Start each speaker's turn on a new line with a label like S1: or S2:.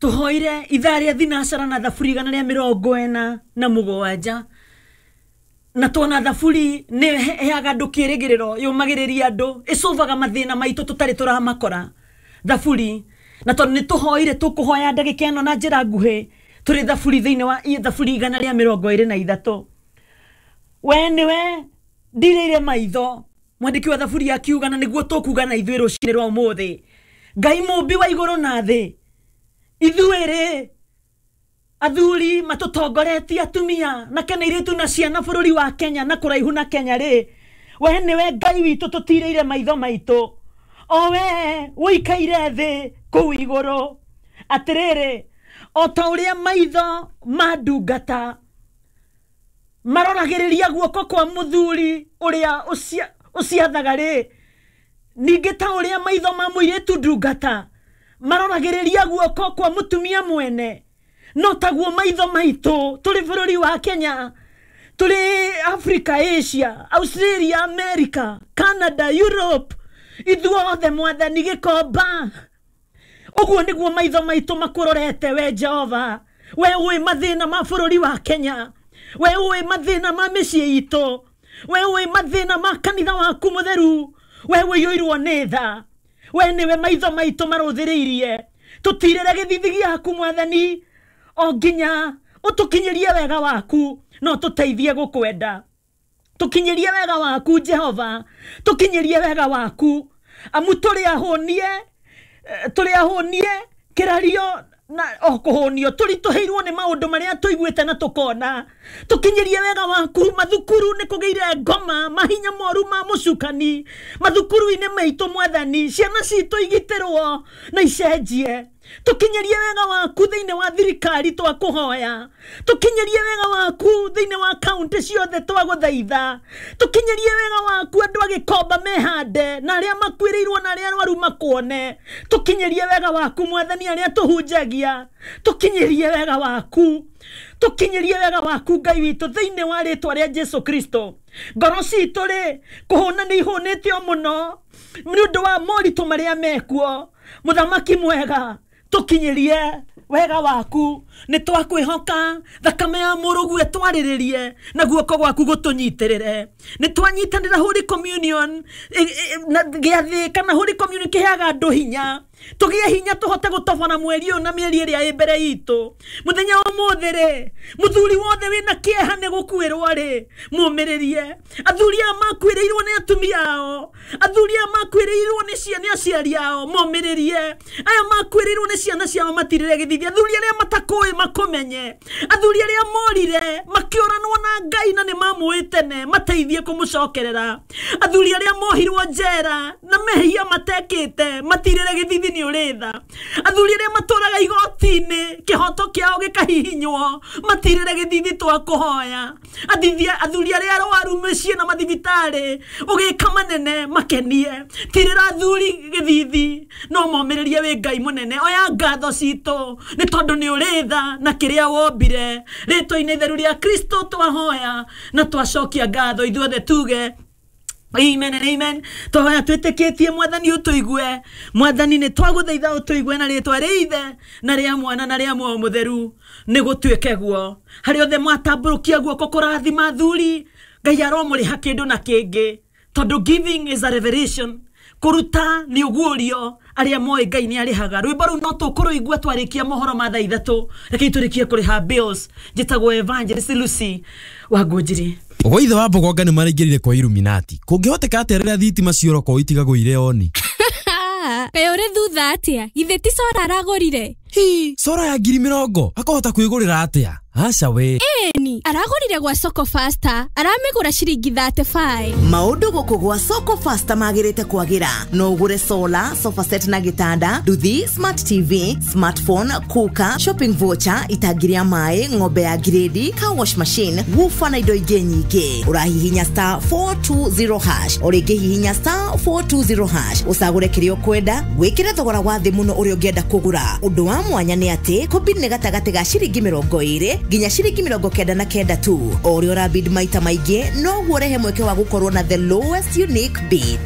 S1: Tũhoire ithaa rĩa thinacara na thaburi 147 na tuona thaburi nĩ heaga andũ kĩrĩgĩrĩro, yũmagĩrĩria andũ, ĩcũvaga mathĩna maitũ tũtarĩ tũramakora. Thaburi na tondũ nĩ tũhoire, tũkũhoya ndagĩka ĩno na njĩra nguhĩ tũrĩ thaburi thĩinĩ wa thaburi 123. We nĩwe ndirĩire maitho, mwandĩki wa thaburi akiuga, na nĩguo tũkuga na ithuĩ rũcinĩ rwa ũmũthĩ. Ngai mũmbi wa igũrũ na thĩ, ithuĩ rĩ athuri matũtongoretie atumia na kana airĩtu na ciana bũrũri wa Kenya na kũraihu na Kenya rĩ, we nĩwe Ngai witũ tũtirĩire maitho maitũ, o we ũikaire thĩ kũu igũrũ. Atĩrĩrĩ, o ta ũrĩa maitho ma ndungata maroragĩrĩria guoko kwa mũthuri ũrĩa ũciathaga rĩ, ningĩ ta ũrĩa maitho ma mũirĩtu ndungata maroragĩrĩria guoko kwa mũtumia mwene, no taguo maitho maitũ tũrĩ bũrũri wa Kenya, tũrĩ Africa, Asia, Australia, America, Canada, Europe, ithuothe Mwathani gĩkomba, ũguo nĩguo maitho maitũ makũrorete we Jehova. We ũĩ mathĩna ma bũrũri wa Kenya, we ũĩ mathĩna ma mĩciĩ itũ, we ũĩ mathĩna ma kanitha waku mũtheru, we ũiyũirwo nĩ tha. We nĩwe maitho maitũ marũthĩrĩirie, tũtirĩre gĩthithi gĩaku Mwathani, o nginya ũtũkinyĩrie wega waku, no tũteithie gũkwenda. Tũkinyĩrie wega waku Jehova, tũkinyĩrie wega waku, amu tũrĩ ahũnie, tũrĩ ahũnie kĩrario na o kũhũnio, tũritũhĩirwo nĩ maũndũ marĩa tũiguĩte na tũkona. Tũkinyĩrie wega waku. Mathukuru nĩ kũgĩire ngoma, mahinya moru ma mũcukani mathukuru-inĩ maitũ Mwathani, ciana citũ igitĩrwo na icenjie. Tũkinyĩrie wega waku thĩinĩ wa thirikari twakũhoya, tũkinyĩrie wega waku thĩinĩ wa kaunti ciothe twagũthaitha, tũkinyĩrie wega waku andũ a gĩkomba mehande na arĩa makuĩrĩirwo na arĩa arwaru makuone. Tũkinyĩrie wega waku Mwathani, arĩa tũhunjagia, tũkinyĩrie wega waku, tũkinyĩrie wega waku Ngai witũ thĩinĩ wa rĩtwa rĩa Jesu Kristo. Ngoro citũ rĩ, kũhũna nĩ ihũnĩte o mũno nĩ ũndũ wa moritũ marĩa mekuo. Mũthamaki mwega, tũkinyĩrie wega waku, nĩ twakwĩhoka, thakame ya mũrũguo ĩtwarĩrĩrie na guoko gwaku gũtũnyitĩrĩre. Nĩ twanyitanĩra Holy Communion gĩathĩ kana Holy Communion kĩheaga andũ hinya, tũgĩe hinya tũhote gũtobora mweri ũyũ na mĩeri ĩrĩa ĩ mbere itũ. Mũthenya wa ũmũthĩ rĩ, mũthuri wothe wĩna kĩeha nĩ gũkuĩrwo rĩ, mũmĩrĩrie. Athuri aya makuĩrĩirwo nĩ atumia ao, athuri aya makuĩrĩirwo nĩ aciari ao, momĩrĩrie. Aya makuĩrĩirwo nĩ ciana ciao matirĩre gĩthithi. Athuri arĩa matakũĩ makũmenye, athuri arĩa morire makĩũranwo na Ngai na nĩ mamũĩ tene, mateithie kũmũcokerera. Athuri arĩa mohirwo njera na mehia matekĩte, matirĩre gĩthithi nĩ ũrĩ tha. Athuri arĩa matũraga igoti-inĩ kĩhoto kĩao gĩkahihinywo, matirĩre gĩthithi twakũhoya. Athuri arĩa arwaru mĩciĩ na mathibitarĩ ũgĩka manene makenie, tirĩra athuri gĩthithi no momĩrĩrie wĩ Ngai mũnene. Oya ngatho citũ nĩ tondũ nĩ ũrĩ tha na kĩrĩa wombire. Rĩtwa-inĩ itheru rĩa Kristo twahoya na twacokia ngatho, ithuothe tuge amen and amen. Twahoya twĩtĩkĩtie Mwathani ũtũigue. Mwathani nĩ twagũthaitha ũtũigue na rĩtwa rĩa Ithe na rĩa Mwana na rĩa Muoyo Mũtheru, nĩ gũtuĩke guo. Harĩ othe mwatambũrũkia guoko kũrathima athuri, Ngai aromũrĩha kĩndũ na kĩngĩ, tondũ giving is a revelation. Kũruta nĩ ũguũrio, arĩa moĩ Ngai nĩ arĩhaga. Rwĩmbo rũu no tũkũrũigua twarĩkia mohoro ma thaa 3. Rekei tũrĩkie kũrĩha bills. Njĩtagwo Evangelist Lucy wa Ngũnjiri.
S2: Gwa ithe wa Mbogonga nĩ maraingĩrire kwa Illuminati. Kũngĩhoteka atĩa rĩrĩa thitima ciora korwo itigagwo irĩ oni?
S3: Kaĩ ũrĩ thutha atĩa? Githĩ ti cora aragũrire?
S2: Hi, cora ya 20,000 akahota kwĩgũrĩra atĩa? Aca we.
S3: Ĩni, aragũrire gwa Soko Faster, aramĩgũra ciringi 35.
S4: Maũndũ gũkũ gwa Soko Faster magĩrĩte kwagĩra. No ũgũre solar, sofa set na gĩtanda, nduthi, smart TV, smartphone, cooker, shopping voucher, itangi rĩa maĩ, ng'ombe ya grade, car wash machine, woofer na indo ingĩ nyingĩ. Ũrahihinya star 420 hash, o rĩngĩ hihinya star 420 hash, ũcagũre kĩrĩa ũkwenda, wĩkĩre thogora wa thĩ mũno ũrĩa ũngĩenda kũgũra. Ũndũ wa mwanya nĩ atĩ kũbid nĩ gatagatĩ ga ciringi 20 nginya ciringi 99 tu. O ũrĩa ũrabid maita maingĩ, noguo ũrehe mweke wa gũkorwo na the lowest unique bid.